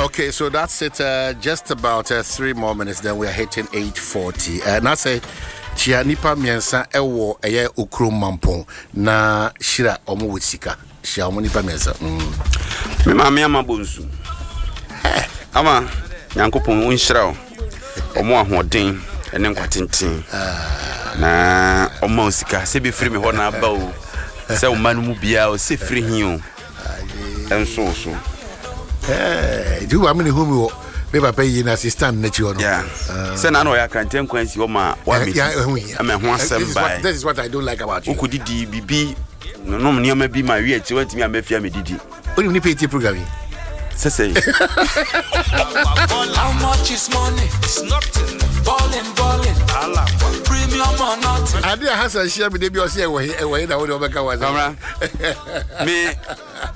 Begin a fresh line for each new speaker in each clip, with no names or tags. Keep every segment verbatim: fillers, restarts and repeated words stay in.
Okay, so that's it. Uh, just about uh, three more minutes, then we are hitting eight forty. Uh, na sɛ kyia nipa mmiɛnsa ɛwɔ ɛyɛ okurom mampɔn na hyira ɔmo wɔ sika hyia ɔmo nipa mmiɛnsa. Mm.
Me maame ama bonsu ama Nyankopɔn nhyira wo, ɔmo ahoɔden ɛne nkwa tenten na ɔma wo sika sɛ bɛfiri me hɔ na aba o, sɛ wo ma no mu biaa o sɛ firi hi o ɛnso wo so.
Nti wo maame ne hu mi wɔ me papa yi na assistant n'akyi hɔ no.
Yeah. Sɛ na na ɔyɛ akrantɛ nkwan si hɔ ma
Eh, yeah, ɛho hia.
ama ɛho asɛm
This is what-
bae.
This is what I don't like about you.
Wokɔdidi biribi nom nneɛma bi ma wi akyi woantumi ammɛfia medidi.
Wonim nipa etie program yi.
Sɛ sɛ
How much is money?
It's nothing.
Ballin', ballin'. Premium or nothing.
Ade a Hassan hyia mi de bi ɔsi ɛwɔ he ɛwɔ he na wo de ɔbɛka wa sɛ.
Kamra, me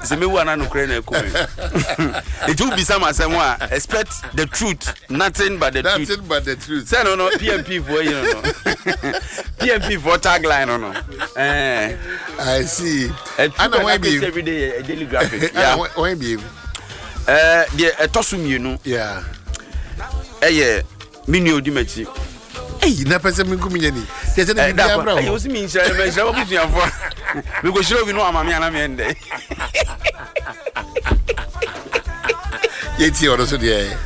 sɛ mewu ana nokorɛ na ɛkɔ me nti wobisa m asɛm a, expect the truth, nothing but the truth.
Nothing but the truth.
Sɛ no no P M P foɔ yi no no P M P foɔ tagline no no Eh,
I see.
a
Ana wɔn bi.
every day a daily graphic.
Ana
Yeah.
wɔn bi.
Eh, deɛ ɛtɔ so mmienu
Yeah.
ɛyɛ me nua odi m'akyi.
Eyi na pɛ sɛ mi nkum nyɛ ni. Kyɛ sɛ ne
Eh,
bi
da
bi
kwa
abira
ɛyɛ
hɔ.
wosi mi nhyira mɛ nhyira wabusuafoɔ mekɔhyira obi no ama me ana meɛ ndɛ.
Yɛ tie ɔno so deɛ.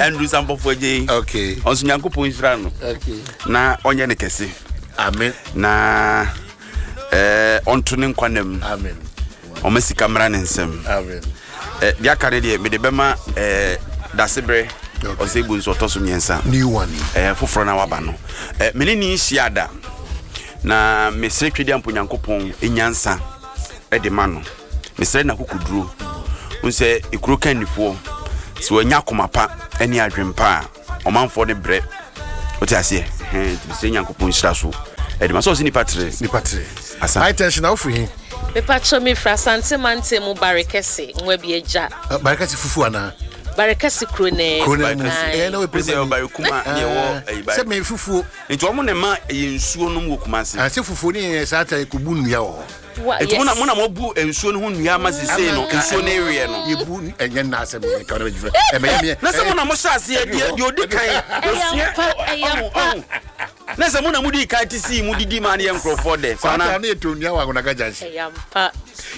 Andrew Sampɔfoɔ agye yi
Okay.
ɔnso Nyankopɔn nhyira no
Okay.
na ɔnyɛ ne kɛse
Amen.
na eh, ɔnto ne nkwa nam.
Amen.
Ɔma sika mmra ne nsɛm.
Amen.
Eh, deɛ aka no deɛ mede bɛma eh, Daseberɛ.
Okay.
Ɔsɛ bu nso ɔtɔ so mmiɛnsa.
New one.
eh, foforɔ no waba no, eh, mene ne nhyia da na mesrɛ Twɛdi ampo Nyankopɔn nyansa de ma no, mesrɛ no akokoduro wo sɛ ɛkuro ka nnifoɔ sɛ wanya akoma pa ne adwempa a ɔmanfoɔ no brɛ wote aseɛ. Ɛhɛn, nti mesrɛ Nyankopɔn nhyira so ɛde ma sɛ ɔsɛ nipa tere.
Nipa tere.
Asa.
High tension na wofiri he?
Mepatwɛ, mefiri Asante Mante mu, Barekɛse nwa bi agya.
Uh, Barekɛse fufu anaa?
Barekɛse kuro ne.
Kuro no mu.
Aye.
Ɛyɛ na
Pɛ sɛ
wopɛ
ɔbare kuma ne ɛwɔ ɛyi
sɛ
bare
me fufuo.
Nti ɔmo ne ma ɛyɛ nsuo nom wɔ Kumase.
Ah, sɛ fufuo ne yɛ saa ta kɔbu nnua wɔ hɔ.
Wa-
Nti mo na
yes.
mo na moabu nsuo no ho nnua ama sesei no nsuo no eweɛ no.
Yɛbu ɛnyɛ nna asɛm ka no bɛgyefrɛ ɛmɛyɛ meɛ.
Na sɛ mo na mohyɛ aseɛ deɛ deɛ ɔdi kan
Ɛyɛ
osua
ampa, ɛyɛ
ɔho
ampa.
ɔho na sɛ mo na modi kan te sii mu didi maa ne yɛ nkurɔfoɔ dɛ.
Saa ta
kwana
ne yɛtɔ nnua wɔ Agonaga Junction.
Ɛyɛ ampa.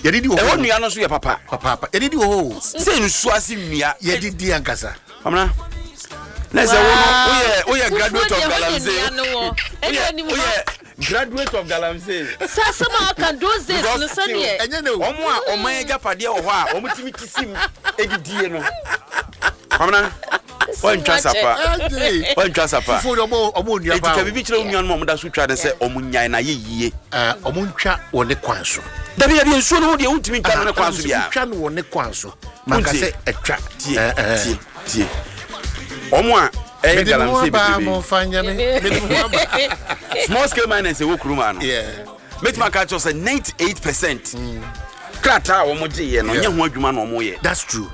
Yɛdidi wɔ
ɛhɔ
hɔ.
nnua no nso yɛ papa.
Papaapa, yɛdidi wɔ hɔ o.
Sɛ nsuo ase nnua.
Yɛdidi ankasa.
Amina na sɛ wo no woyɛ woyɛ graduate of
Fufuo deɛ, hɔ ne
galamsey.
nnua no wɔ. Ɛne
woyɛ
anim hɔ.
Woyɛ graduate of galamsey.
Sɛ asɛm a ɔka those days no sɛneɛ
Ɛnyɛ ne o.
Ɔmo a ɔman agyapadeɛ wɔ hɔ a ɔmo timi ti sim edidie no, Kwamina, wɔntwa sapa.
Agye.
Wɔntwa sapa.
Fufuo de ɔmo ɔmo nnua
Eti
paa
ka
o.
biribi kyerɛ wo nuanom a ɔmo da so twa ne sɛ ɔmo nyae na ayɛ yie.
Ah, ɔmo ntwa wɔ ne kwan so.
Dabi dabi, nsuo no ho deɛ wontumi ntwa no ne kwan so biara.
Ntwa no wɔ ne kwan so manka
Wontie.
sɛ ɛtwa.
Tie.
Eh, eh.
Tie, tie, ɔmo a ɛyɛ
Mede me ho
galamsey
aba
bebrebe.
mo mfa nyɛ me, mede me ho aba.
Small scale miners ɛwɔ kurom ha no,
Yeah.
mɛtumi aka kyerɛ sɛ ninety-eight percent krataa a wɔn gye yɛ no
Yeah.
nyɛ ho adwuma na wɔn yɛ.
That's true.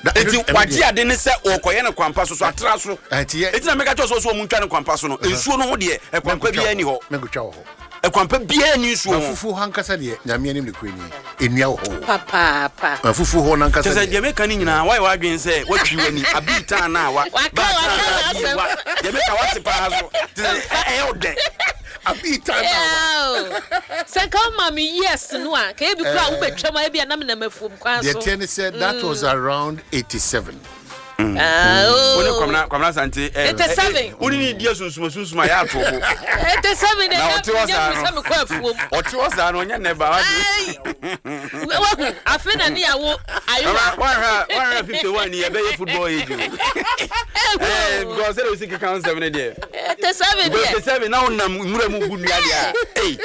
That-
Eti
ɛno- ɛno
wagye
deɛ-
ade ne sɛ ɔkɔyɛ no kwampa so so atra so.
Ɛnti yɛ-
Eti na mɛka kyerɛ sɛ ɔsɛ ɔmo ntwa no kwampa so no, nsuo no ho deɛ ɛkwampa biara ni hɔ.
Mɛnkotwa wɔ hɔ.
Ɛkwampa biara ni nsuo
Na
ho.
fufuo hɔ ankasa deɛ, Nyame anim ne kura ni, nnua wɔ hɔ o.
Papaapa.
Na fufuo hɔ nankasa
Kyerɛ sɛ
deɛ
deɛ meka no nyinaa wayɛ w'adwene sɛ woatwi w'ani abii taa na awa
Waka-
baa taa
waka
na abi
n'asɛm.
wa deɛ meka wate paa so te sɛ ɛ- ɛyɛ wo dɛ.
Abii taa na awa.
Yeah. Sɛ nka woma me years no a ka ebi kora a wobɛtwam a ebi a na menam afuom kwan
Deɛ
so.
teɛ ne sɛ that was around eighty-seven.
Ah, oh.
Wo ne Kwamina Kwamina Sante ɛ
Eighty-seven.
wo ne ne di asunsum sunsum a yɛ ato bo.
Eighty-seven.
Na ɔte hɔ saa no.
Sɛ mekɔ afuom.
Ɔte hɔ saa no ɔnyɛ nnɛ ba wate.
Ai. Wahu afei na ne yɛwo ayewa.
Wahwɛ wahwɛ fifty-one ni yɛbɛyɛ football age o ɛɛ because sɛde osi keka nsɛm ne deɛ
Eighty-seven
because
deɛ
eighty-seven na wonam nwura mu bu nnua deɛ a ei.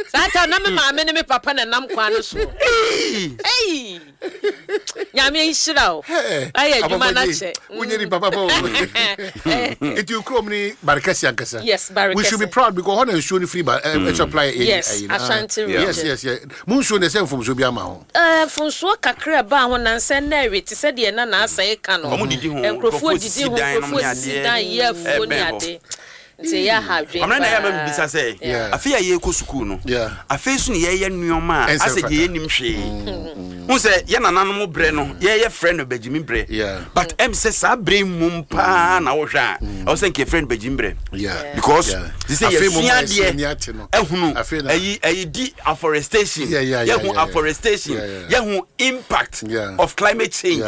Saa ta na me maame ne me papa na nam kwan no so. Ei, Nyame nhyira wo, ayɛ adwuma no akyɛ.
Wonyɛ nipa papa o. Nti kurom ni Barekɛse ankasa.
Yes, Barekɛse.
We should be proud because hɔ na nsuo no firi ba ɛ supply ɛ.
Yes,
ɛyi no.
Ashanti
Ah,
region.
yes yes yes mo nsuo na ɛsɛ mfomso bi ama ho.
Eh, mfonsoɔ kakra baa ho nansɛ na ɛwe te sɛ deɛ na naasɛe ka no.
Ɔmo didi ho,
nkurɔfoɔ
nkurɔfoɔ
didi
sisi
ho
dan nom
nkurɔfoɔ
ne
sisi
adeɛ,
dan yɛ afuo ne
ɛbɛn hɔ.
ade. Nti ɛyɛ aha adwene.
Ɔmena na ɛyɛ ma mebisa sɛ afei a yɛkɔ sukuu no, afei so ne yɛyɛ nneɔma a asɛ deɛ yɛnim hwee. Hu sɛ yɛ nananom berɛ no, yɛyɛ frɛ no bagyimi berɛ, but ɛm sɛ saa berɛ mmom paa na wohwɛ a, ɛwɔ sɛ nka yɛfrɛ no bagyimi berɛ, because te sɛ yɛsua adeɛ ahunu ɛyi ɛyi di afforestation, yɛhu afforestation, yɛhu impact of climate change.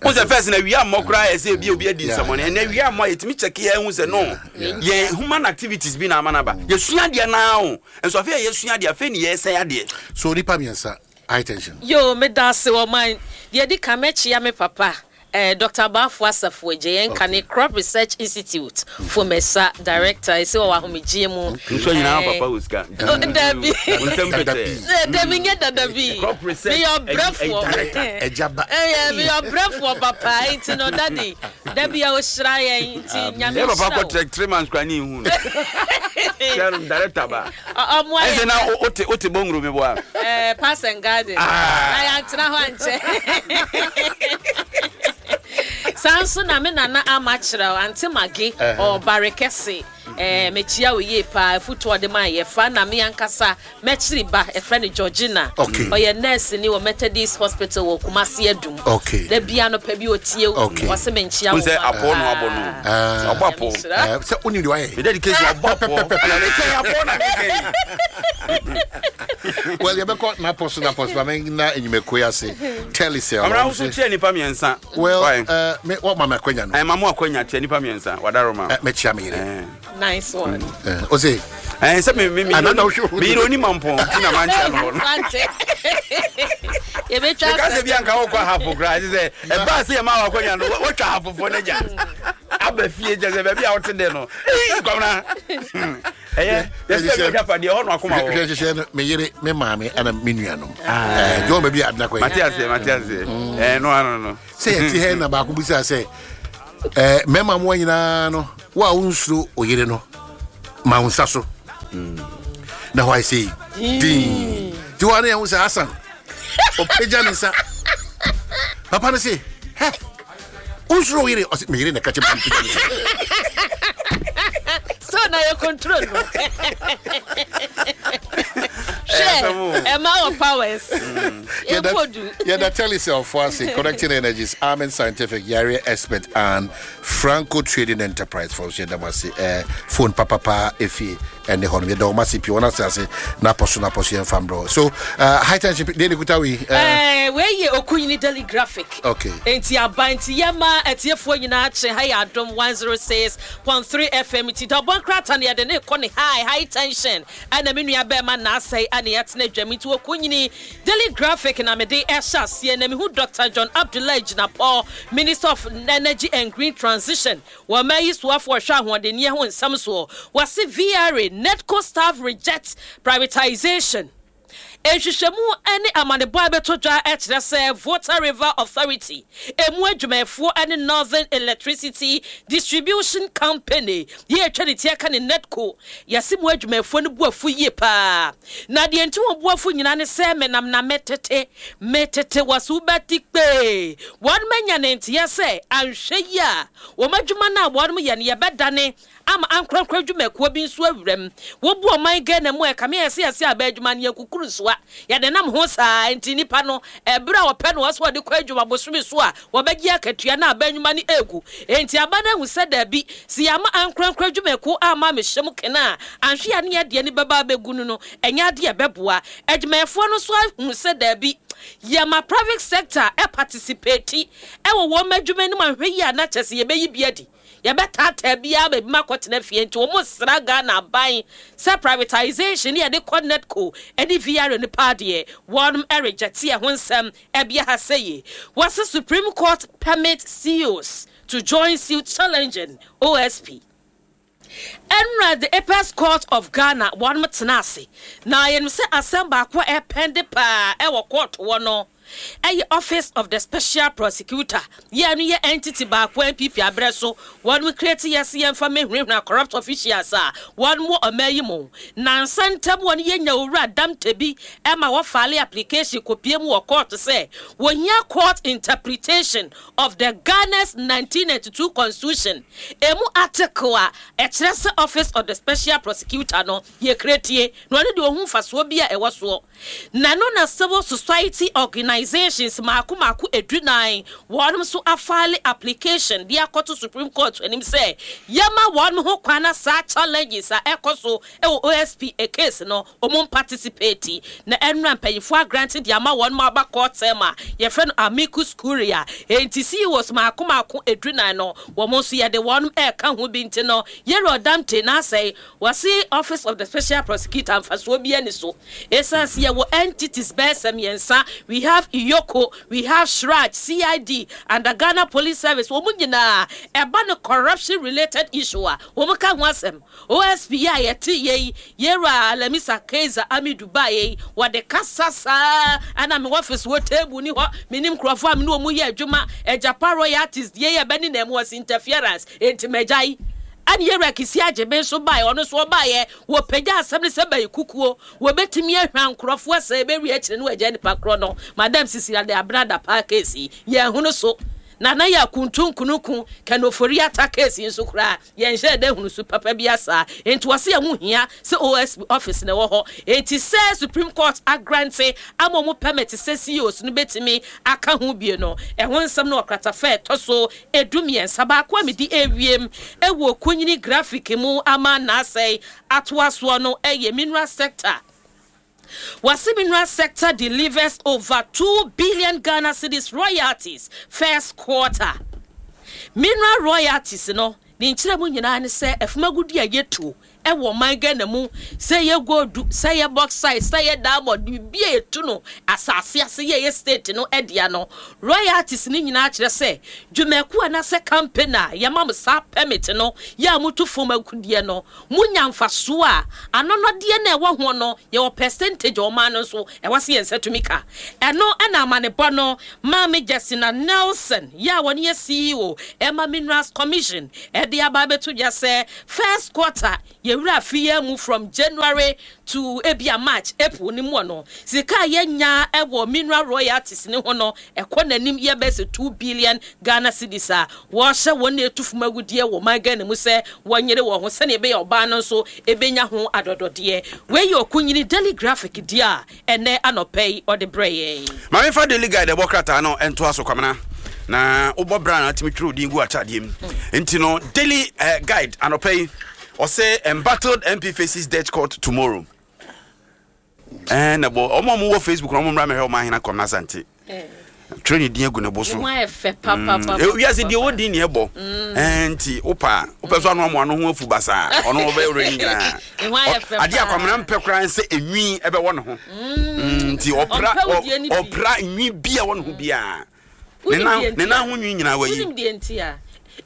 Wo sɛ first na wia mmɔ koraa, yɛ sɛ ebi obi adi nsɛmɔne. Ɛnɛ wia mmɔ a, yɛtumi kyɛke yɛn ho sɛ no, yɛn human activities bi na ama no aba. Yɛsua adeɛ naa o, nso afei a yɛsua adeɛ, afei ne yɛsɛn adeɛ.
So nipa mmiɛnsa, high tension.
Yo, meda ase wɔ man deɛ di ka. Mɛkyia me papa, eh, Doctor Baafo Asafo Agye, yɛn ka ne Crop Research Institute Fomesa director, ɛsɛ wɔ ahomegye mu.
Nso nyinaa papa wɔ sika.
Dabi.
Nsɛm pɛtɛ.
Dabi, nyɛ dada bi.
Crop research.
Meyɛ ɔbrɛfoɔ.
Ɛgya ba.
Ɛyɛ, meyɛ ɔbrɛfoɔ papa, nti no daddy, dabi a ɔhyira yɛn nti Nyame
yɛ papa
hyira
kɔ
wo.
Trek three months kora ne ihu no. Kyerɛ no director ba.
Ɔ- ɔmo ayɛ
ɛsɛ na wote wote bɔnguro mi bɔ a.
Eh, Parks and Garden.
Ah.
Na yɛantena hɔ ankyɛ. Saa nso na me nana ama kyerɛw ante mage ɔbare kɛse. Eh, mekyia wo yie paa, afutu ɔde ma yɛfa na me ankasa mɛkyiri ba, ɛfrɛ no Georgina.
Okay.
Ɔyɛ nurse ni wɔ Methodist Hospital wɔ Kumasi Adum.
Okay.
Da bia no pɛ bi otie wo.
Okay.
Ɔse menkyia
wo
wo
sɛ
ma
apɔ no
paa.
abɔ no. Ɔbɔ apɔ.
Nyame nhyira.
Eh, sɛ wonim deɛ wayɛ.
Me dedication ɔbɔ apɔ ɛna ne kyɛn apɔ na ne kyɛn.
Well, yɛbɛkɔ napɔ so napɔ so ma mena enyimako yi ase Telecel.
Ɔmena wo so kyerɛ nipa mmiɛnsa.
Well,
Why?
uh, me wɔma me akwanya no.
Ɛn ma mo akwanya kyerɛ nipa mmiɛnsa wadaroma.
Eh, mɛkyia me yere.
Ɛn
Nice one.
Eh, ɔse
ɛn sɛ me me me
Anada wohwɛ wo-
me yere oni mampɔn ti na ma nkyɛn no hɔ no.
Wante. Yɛbɛtwa
Meka sɛ
asɛm.
bi anka wokɔ ahafo koraa ɛsɛ sɛ ɛbaa sɛ yɛma wakɔnya no woatwa ahafofoɔ no agya aba fie kyɛ sɛ baabi a wote dɛ no. Ei, Kwamna, ɛyɛ yɛsɛ bi agyapadeɛ hɔ no akoma
hwɛ
wɔ
hyehyɛ no, me yere, me maame ɛna me nuanom. Eh, jɔn baabi a adena kɔ
mate
yi.
aseɛ, mate aseɛ. Ɛɛ, no ano no.
Sɛ yɛte hɛ na baako bisa sɛ eh, mmarima mmoa nyinaa no, wo a wonsuro wo yere no, ma wo nsa so na hɔ ayɛ sɛ yi din nti hɔ a ne yɛho sɛ Asan ɔpagya ne nsa. Papa no se hɛ, wonsuro wo yere? Ɔse me yere na ɛka kyɛ me sɛ mepagya ne nsa.
So na yɛ control no.
Ɛyɛ
Hwɛ, ɛma wɔ powers. Yɛbɔ du.
Yɛda Telecel fo ase, Connecting Energies, Armin Scientific, Yare Expert and Franco Trading Enterprise fo nso, yɛda mo ase. eh, phone papapa ɛfie ɛne hɔ no, yɛda wɔn ase pii. Wɔn ase ase napɔ so napɔ so yɛmfa mbrɛ. So uh, high tension deɛ ne kuta wei uh,
Eh, wei yɛ Okunyini Daily Graphic.
Okay.
Nti aba nti yɛma atiefoɔ nyinaa kye. Ha yɛ Adom one oh six point three F M, nti dɔbɔ nkrata no yɛde ne kɔ ne high high tension, ɛna me nua bɛrima naasɛe ane yɛtena dwam. Nti Okunyini Daily Graphic na mede ɛhyɛ aseɛ na mehu Doctor John Abdullahi Jinapor, Minister of Energy and Green Transition, wɔma yi soafoɔ ɔhwɛ ahoɔdenneɛ ho nsɛm soɔ. Wɔse V R A, NEDCO staff reject privatization. Nhwehwɛmu ne amanebɔ a bɛtɔ dwa kyerɛ sɛ Volta River Authority emu adwumayɛfoɔ ne Northern Electricity Distribution Company yɛ atwa ne ti aka ne NEDCO, yɛse mu adwumayɛfoɔ no bu afu yie paa, na deɛ nti wɔn bu afu nyinaa ne sɛ menam na metete metete wɔ so wobɛte kpee wɔn manya ne nteɛ sɛ anhwɛ yi a, wɔn adwuma no a wɔn yɛ no yɛbɛdane ama ankorankora adwumakuo bi nso awuram. Wobu ɔman Ghana mu a, ɛkame yɛ sɛ yɛsɛ aba adwuma no yɛkukuru nsoa yɛde nam ho saa, nti nipa no ɛberɛ a wɔpɛ no wɔ so wɔde kɔ adwuma bosome so a wɔbɛgye akatua na aba nnwuma no egu. Enti aba no ahu sɛ daabi, si yɛama ankorankora adwumakuo ama mehyɛ mu kena a, anhwe a ne yɛdeɛ no bɛba abɛgu no no ɛnyɛ adeɛ ɛbɛboa adwumayɛfoɔ no. So ahu sɛ daabi, yɛma private sector ɛparticipate ɛwɔ wɔn adwuma no mu, ahwɛ yi a na kyɛ sɛ yɛbɛyi bi adi, yɛbɛtaataa biara baabi ma akɔtena fie. Nti wɔn sra Ghana aban sɛ privatization ne yɛde kɔ NEDCO ne V R A no paa deɛ, wɔn ɛregyɛte ɛho nsɛm ɛbea ha sɛ yie. Wɔse Supreme Court permit C E Os to join suit challenging O S P. Ɛnura the Apex Court of Ghana wɔn tena ase na yɛnim sɛ asɛm baako a ɛpɛnde paa ɛwɔ court wɔ no. Ɛyɛ Office of the Special Prosecutor yɛ no yɛ entity baako N P P abrɛ so wɔn create yɛ se yɛmfa mehunahuna corrupt officials a wɔn wɔ ɔman yi mu. Nansa ntam wɔn yɛnya Owura Damte bi ɛma wɔfile application kɔpie mu wɔ court sɛ wɔhia court interpretation of the Ghana's nineteen ninety-two constitution emu article a ɛkyerɛ sɛ Office of the Special Prosecutor no yɛ create na ɔno deɛ ohun mfasoɔ bi a ɛwɔ soɔ. Na no na civil society organizations mako mako edunan wɔn nso afile application de akɔto Supreme Court anim sɛ yɛma wɔn ho kwan na saa challenges a ɛkɔ so ɛwɔ O S P case no wɔn participate. Na ɛnura mpanyinfoɔ agrant de ama wɔn aba court term a yɛfrɛ no amicus curiae. Enti C E Os mako mako edunan no, wɔn nso yɛde wɔn ɛɛka ho bi. Nti no yɛrɛ ɔdamte n'asɛe wɔsi Office of the Special Prosecutor mfasoɔ bi ani so, esan si yɛwɔ entities bɛyɛ sɛ mmiɛnsa. We have EOCO, we have CHRAJ, C I D and the Ghana Police Service. Wɔn nyinaa ɛba no corruption related issue a wɔn ka ho asɛm. O S P a yɛte yɛ yi, yɛwura Alamisa Kaiser Amidu baa yɛ yi, wɔde kasa saa ɛna mi office wɔ table ni hɔ, mi nim nkurɔfoɔ a mi ne wɔn yɛ adwuma. Agyapa royalties deɛ yɛ bɛ ne na mu wɔsi interference, enti mɛgya yi. Ɛne yɛwura Kissi Agyebeng nso baeɛ, ɔno nso ɔbaeɛ, wɔpagya asɛm no sɛ bɛyɛ kukuo, wɔbɛtumi ahwa nkurɔfoɔ sɛ ɛbɛwie akyire no wɔagya nipa korɔ no. Madam Cecilia de Abrada paa case yi yɛn ho no so nana yɛ akuntu nkunuku Ken Ofori-Atta case yi nso koraa yɛnhyɛ dɛ hunu so papa bi asa. Nti wɔsi ɛho hia sɛ O S P office na ɛwɔ hɔ. Nti sɛ Supreme Court agrant ama ɔmo permit sɛ C E Os no bɛtumi aka ho bie no, ɛho nsɛm no ɔkratafa ɛtɔ so edu mmiɛnsa. Baako a mede ewiem ɛwɔ Kunyini Graphic mu ama n'asɛe atoa soɔ no ɛyɛ mineral sector. Wɔsi mineral sector delivers over two billion Ghana cedis royalties first quarter. Mineral royalties no ne nkyerɛ mu nyinaa ne sɛ afumagudi a yɛtu ɛwɔ ɔman Ghana mu, sɛ yɛ gold, sɛ yɛ bauxite, sɛ yɛ diamond, biribi a yɛtu no asase ase yɛ yɛ state no ɛdea no, royalties ne nyinaa kyerɛ sɛ dwumaku anaasɛ company a yɛma mo saa permit no yɛ a motu fam agudeɛ no, monya mfasoɔ a anɔnɔdeɛ no ɛwɔ ho no, yɛwɔ percentage a ɔman no nso ɛwɔ sɛ yɛn nsa tumi ka. Ɛno ɛna amanebɔ no Maame Justina Nelson yɛ a wɔne yɛ C E O ɛma Minerals Commission ɛde aba abɛto dwa sɛ first quarter, yɛwura afi yɛn mu from January to ebia March, April ne mu no, sika a yɛnya ɛwɔ mineral royalties ne ho no ɛkɔ n'anim yɛ bɛ sɛ two billion Ghana cedis a wɔhyɛ wɔn na etu fam agudeɛ wɔ man Ghana mu sɛ wɔnyere wɔn ho sɛnea ɛbɛyɛ ɔbaa no nso ebenya ho adɔdɔdeɛ. Wei yɛ Ɔkunyini Daily Graphic di a ɛnɛ anɔpɛ yi ɔde brɛ yɛn.
Maame, fa Daily Guide ɛbɔ krataa no ɛntoa so. Kwamena na wobɔ bra na atumi twerɛ odin gu akyaadeɛ mu. Nti no Daily uh, Guide anɔpɛ yi ɔsɛ "Embattled M P faces Dutch court tomorrow." Ɛɛ na bɔ ɔmo a ɔmo wɔ Facebook na ɔmo mmra mɛhwɛ ɔmo ahena Kwamena Asante twerɛ ne din agu ne bo so.
Ne ho ayɛ fɛ papapapa.
Mm, wiase deɛ wɔdi ne ɛbɔ. Ɛɛ nti wopa wopɛ so ano amoa no ho afu basaa, ɔno wɔbɛyɛ wura ne nyinaa.
Ne ho ayɛ fɛ
adeɛ
paa.
Akwamena mpɛ koraa sɛ enwi ɛbɛwɔ ne ho. Mm, nti ɔpra
Ɔmpɛ wodeɛ no bi.
ɔpra nwi bi a ɛwɔ ne ho biara ne
Wonim
nan
deɛ nti
ne
a?
nan ho nwi nyinaa wayi.
Wonim deɛ nti a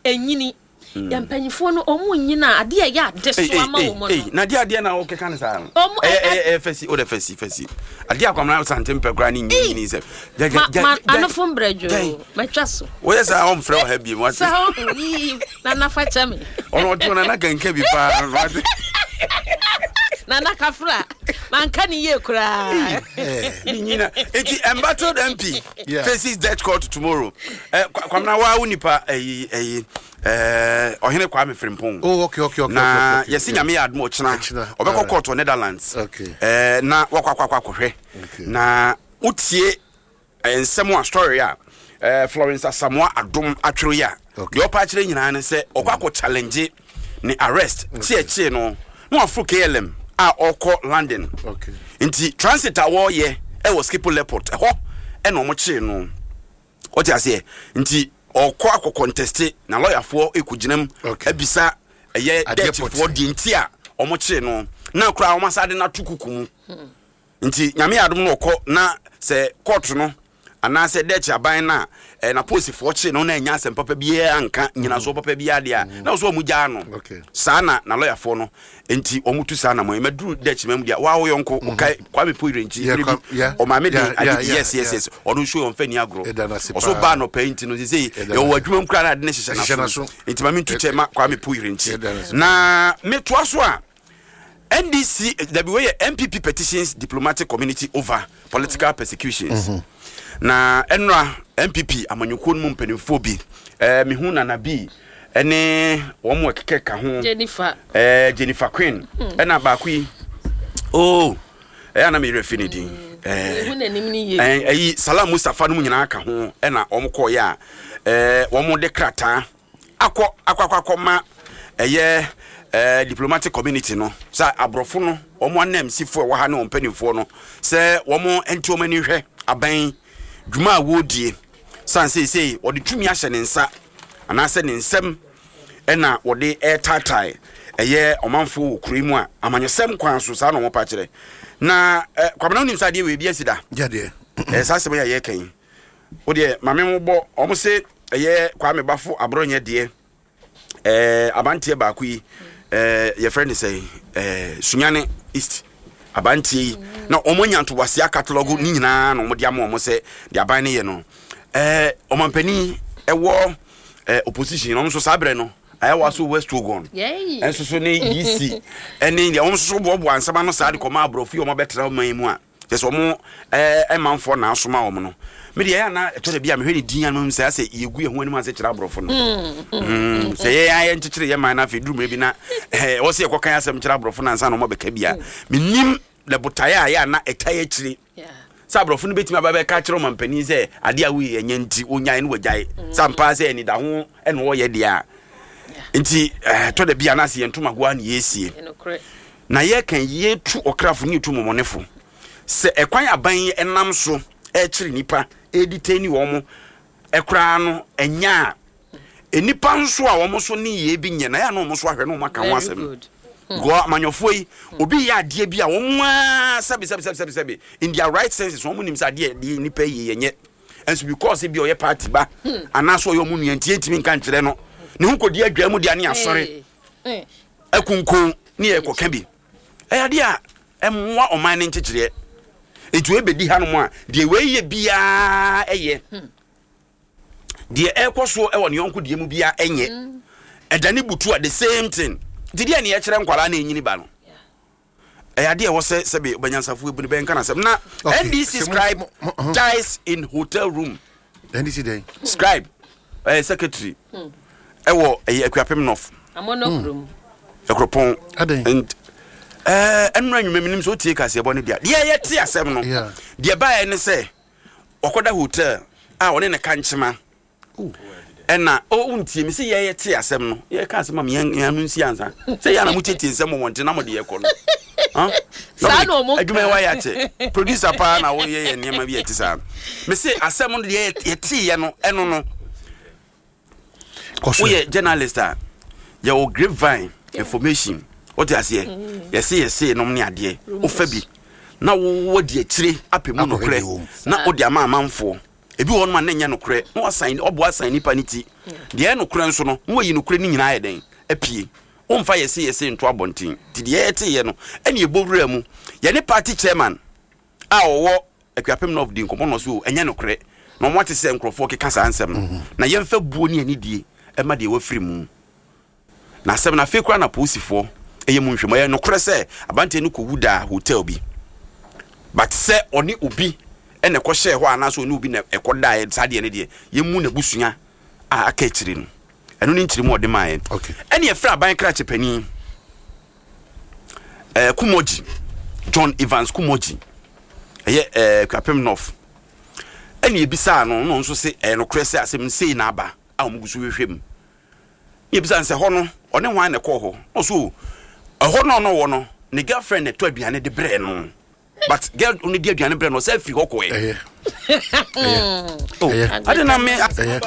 ɛnyini yɛ mpanyinfoɔ no ɔmo nyina adeɛ a ɛyɛ ade so ama wɔn no.
Na deɛ adeɛ na wɔkeka ne saa no
Ɔmo-
ɛyɛ
ɛ-
ɛyɛ ɛyɛ fɛsi o de fɛsi fɛsi adeɛ Akwamena Asante mpɛ koraa ne nwi nyini sɛ
ma ma anofo mbrɛdwo mɛtwa so.
Woyɛ saa ɔmfrɛ wɔ ha biem wate.
Sɛ ɔho yii nana fa kyɛ me.
Ɔno ɔte hɔ nana kanka bi paa no wate.
Nana kafra manka ne yie koraa.
Ne nyina nti embattled M P
Yeah.
faces Dutch court tomorrow. ɛ Kwamena waa wo nipa ɛyi ɛyi ɛɛ Ɔhene Kwame Frimpong.
Oh, okay, okay, okay.
Na
okay, okay,
yɛsi Nyame yɛ adom ɔkyena
Ɔkyena,
ɔbɛkɔ
alright.
court wɔ Netherlands.
Okay.
ɛɛ na wakɔ akɔ akɔ akɔhwɛ.
Okay.
Na wotie ɛɛ nsɛm a story a ɛɛ Florence Asamoah Adom atwerɛ yi a,
Okay.
deɛ ɔpa akyerɛ nyinaa ne sɛ ɔkɔ akɔ challenge ne arrest kyeɛkyee no na waforo K L M a ɔkɔ London.
Okay.
Nti transit a wɔreyɛ ɛwɔ Schiphol Airport ɛhɔ ɛna ɔmo kyee no, ɔte aseɛ? Nti ɔkɔ akɔ contest na lɔyafoɔ ekɔgyina mu
Okay.
abisa ɛyɛ
Adeɛ
Dutchfoɔ
pɔtee.
deɛ nti a ɔmo kyee no na koraa ɔmo asa de no ato kuku mu. Nti Nyame yɛ adom no ɔkɔ na sɛ court no Anaasɛ Dutch aban no a eh, na polisifoɔ kye no na ɛnya asɛm papa biara nka nyinasoɔ papa biara deɛ a, na wɔ sɛ ɔmo gyaa no.
Okay.
Saa na na lɔyafoɔ no nti ɔmo tu saa na mo mɛduru Dutch ma mu deɛ waa wo yɔnko wokae Kwame Poyere nkyi
Yeah,
bere bi
Kwame- yeah,
ɔmaame de
yeah,
ade
yeah,
bi
yeah,
yes yes
yeah.
yes ɔno nso yɛ ɔmfa ni agorɔ.
Ɛda no ase
Ɔso
paa.
baa nɔpɛ yi nti no sesei
Ɛda no
yɛwɔ
ase.
adwuma mu koraa na ade ne hyehyɛ
Hyehyɛ
n'aso.
n'aso.
Nti ma mentu kyɛ ma Kwame Poyere nkyi.
Ɛda no ase.
Na metoa so a, N D C, dabi, wei yɛ N P P petitions diplomatic community over political persecutions. Na ɛnora N P P amanyɔkuo no mu mpanimfoɔ bi, ɛɛ mehu Nana bi ɛne wɔn mu ɛkeka ka ho.
Jennifer.
ɛɛ Jennifer Queen, ɛna baako yi, oh, ɛyɛ anam yerɛ fi ne din ɛɛ
ehu n'anim ni yie.
ɛn ɛyi Salam Mustapha no mu nyinaa ka ho, ɛna wɔn kɔɔyɛ a ɛɛ wɔn de krataa akɔ akɔ akɔ akɔ ma ɛyɛ ɛɛ diplomatic community no sɛ aborɔfo no, wɔn anamsifoɔ a ɛwɔ ha ne wɔn mpanimfoɔ no, sɛ wɔn nti wɔn ani hwɛ aban dwuma a wɔredie, san seesei wɔde tumi ahyɛ ne nsa anaasɛ ne nsam, ɛna wɔde ɛretaatae ɛyɛ ɔmanfoɔ wɔ kuro yi mu a amanyɔsɛm kwan so. Saa na wɔn pa kyerɛ. Na ɛ Kwamina, wonim sɛ adeɛ wɔ ebi asi da?
Gyadeɛ.
Ɛɛ saa asɛm yi a yɛreka yi, wo deɛ maame mo bɔ ɔmo se ɛyɛ Kwame Bafo Aborɔnyɛ deɛ, ɛɛ abanteɛ baako yi, ɛɛ yɛfrɛ ne sɛ ɛɛ Sunyane East abanteɛ yi, na ɔmo anya ntoboaseɛ catalogue ne nyinaa na ɔmo de ama ɔmo sɛ deɛ aban no yɛ no, ɛɛ ɔmampanin ɛwɔ ɛɛ opposition, ɔmo nso saa berɛ no ayɛ so West Wuogon.
Yay.
Ɛnso so ne E C ɛne deɛ ɔmo nso so boaboa nsɛm ano saa de kɔma aborɔfo yi a ɔmo abɛtena ɔman yi mu a kyɛ sɛ ɔmo ɛɛ ɛmanfoɔ na asoma wɔn no. Me deɛ, ɛyɛ ana ɛtɔ da bi a mehwɛ ne din anum sɛ asɛ yɛgu yɛn ho anim ase kyerɛ aborɔfo no. Mm, sɛ yɛyɛ ayɛ nkyekyere yɛ man no, afei duru mmerɛ bi na ɛɛ ɛwɔ sɛ yɛkɔka asɛm kyerɛ aborɔfo no ansa na ɔmo abɛka bi a, menim na botaeɛ a ɛyɛ ana ɛtae akyire
Yeah.
sɛ aborɔfo no bɛtumi aba bɛka kyerɛ ɔmampanin sɛ adeɛ a woyɛ ɛnyɛ nti wonyae no wagyae sɛ ampa sɛ anidaho ɛna wɔyɛ deɛ a nti ɛɛ tɔ da bi anaasɛ yɛn ntomagoa ne yɛsie.
Ɛnokorɛ.
Na yɛka yɛtu ɔkrafo ne yɛtu mmɔmɔnefo sɛ ɛkwan aban yi ɛnam so ɛkyerɛ nipa ɛdi ni wɔn mo ɛkoraa no, ɛnya a nnipa nso a wɔn nso ne yie bi nyɛ na yɛ a na wɔn nso ahwɛ na wɔn aka ho
Very
asɛm.
good.
Because amanyɔfoɔ yi, obi yɛ adeɛ bi a wɔn aa sɛbi sɛbi sɛbi sɛbi sɛbi, in their right senses wɔn nim sɛ adeɛ deɛ nipa yi yɛ nyɛ, nso because bi ɔyɛ party ba anaasɛ ɔyɛ ɔmo nua nti yɛntumi nka nkyerɛ no ne ho kɔdi adwa mu deɛ ne asɔre.
Hey.
Ɛkunkun ne yɛ kɔka bi, ɛyɛ adeɛ a ɛmmoa ɔman ne nkyekyereɛ. Nti wei bɛdi hanom a, deɛ wei yɛ biara ɛyɛ deɛ ɛrekɔ soɔ ɛwɔ ne yɔnko deɛ mu biara ɛnyɛ ɛda ne butu a, the same thing. Nti deɛ ne yɛkyerɛ nkwaraa na ɛnyini ba no, ɛyɛ adeɛ a ɛwɔ sɛ sɛbi ɔbɛnyansafo ebu ne bɛnka n'asɛm na
Okay.
N D C
Sɛ mo-
scribe
mo- mo- uh-huh.
dies in hotel room.
N D C dɛn?
Scribe, ɛyɛ secretary ɛwɔ ɛyɛ Akuapem North.
Amono kurom.
Ɛkuropɔn.
Adɛn?
And ɛɛ ɛnura nnwuma mi nim sɛ otie kaseɛ bɔ ne deɛ deɛ yɛte asɛm no.
Yeah.
Deɛ baayɛ ne sɛ ɔkɔda hotel a ɔne ne ka nkyema ɛna o ntie mi sɛ yɛyɛ te asɛm no, yɛka asɛm a yɛn yɛn ano nsi ansa sɛ yɛn na mo tietie nsɛm wɔ wɔn ti na mo de yɛ kɔ no. Huh?
Saa na ɔmo
adwuma yi
ka.
wayɛ akyɛ producer paa na woyɛ yɛ nneɛma bi yɛ te saa. Me se asɛm no deɛ yɛteeɛ no, ɛno no.
Kɔ so.
Woyɛ journalist a, yɛwɔ grapevine information, wote aseɛ? Yɛse yɛse nom ne adeɛ wofa bi na wowɔ di akyire apɛ mu
Akɔhwɛ
nokorɛ
deɛ wɔ mu.
Na wode ama amanfoɔ ebi wɔ hɔ nom a na ɛnyɛ nokorɛ na wasan ɔboa asan nipa ne ti deɛ ɛyɛ nokorɛ nso no, na wayi nokorɛ no nyinaa yɛ dɛn apie. Womfa yɛse yɛse nto abɔnten. Nti deɛ yɛteeɛ no ɛne yɛbɔ wura mu, yɛne party chairman a ɔwɔ Akuapem North di nkɔmmɔ no so o, ɛnyɛ nokorɛ na ɔmo ate sɛ nkurɔfoɔ keka saa nsɛm no, na yɛmfa buo ne anidie ɛma deɛ wafiri mu. Na asɛm no afei koraa na polisifoɔ ɛyɛ mu nhwɛmu. Ɛyɛ nokorɛ sɛ abanteɛ no kɔwu daa hotel bi, but sɛ ɔne obi ɛna ɛkɔhyɛɛ hɔ anaasɛ ɔne obi na ɛkɔdaeɛ, saa deɛ no deɛ yɛmu n'abusua a aka akyire no, ɛno ne nkyerɛ mu a ɔde maayɛ.
Okay.
Ɛne yɛfrɛ aban krakye panin ɛɛ Kumɔgyi, John Evans Kumɔgyi, ɛyɛ ɛɛ Kuapem North, ɛne ebisaa no no nso se ɛyɛ nokorɛ sɛ asɛm sei na aba a wɔn gu so hwehwɛ mu. Ne ebisa no sɛ hɔ no ɔne hwan na ɛkɔɔ hɔ, na ɔso o, ɛhɔ no ɔno wɔ no ne girlfriend na ɛtɔ aduane de brɛ no, but girl no di aduane brɛ no, ɔsɛ afiri hɔ kɔɛ.
Ɛyɛ.
Oh,
Ɛyɛ.
ade na me
Ɛyɛ.